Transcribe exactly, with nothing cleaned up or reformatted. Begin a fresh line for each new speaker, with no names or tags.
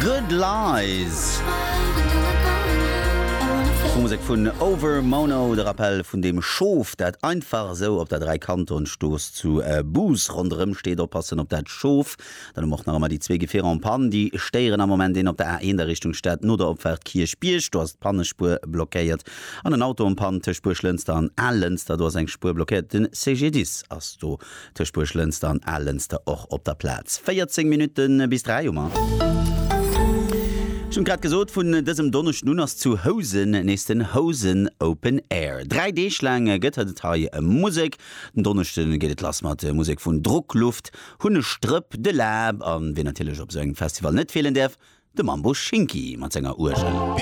Good Lies. Musek vun Overmono, de Rappel vun dem Schof, dat einfach sou op der Dräikantonstrooss zu äh, Bous ronderëm steet, oppassen op dat Schof. Dann hu mer och nach ëmmer déi zwee Gefierer en panne, déi stéieren am Moment een op der A eent a Richtung Stad no der Opfaart Kierchbierg, do ass d'Pannespuer blockéiert. An en Auto en panne tëscht Buerglënster an Alënster, do ass eng Spuer blockéiert. Den C G D I S ass do tëscht Buerglënster an Alënster och op der Plaz. véierzéng Minutte bis dräi hu mer. Ech hunn grad gesot, vun dësem Donneschden un ass zu Housen nees den Housen Open Air. Dräi Deeg laang gëtt et hei Musek. Den Donneschde geet et lass mat Musek vun Druckluft, Hunnestrëpp, De Läb an wien natierlech op sou engem Festival net feelen däerf, de Mambo Schinki mat senger Uergel.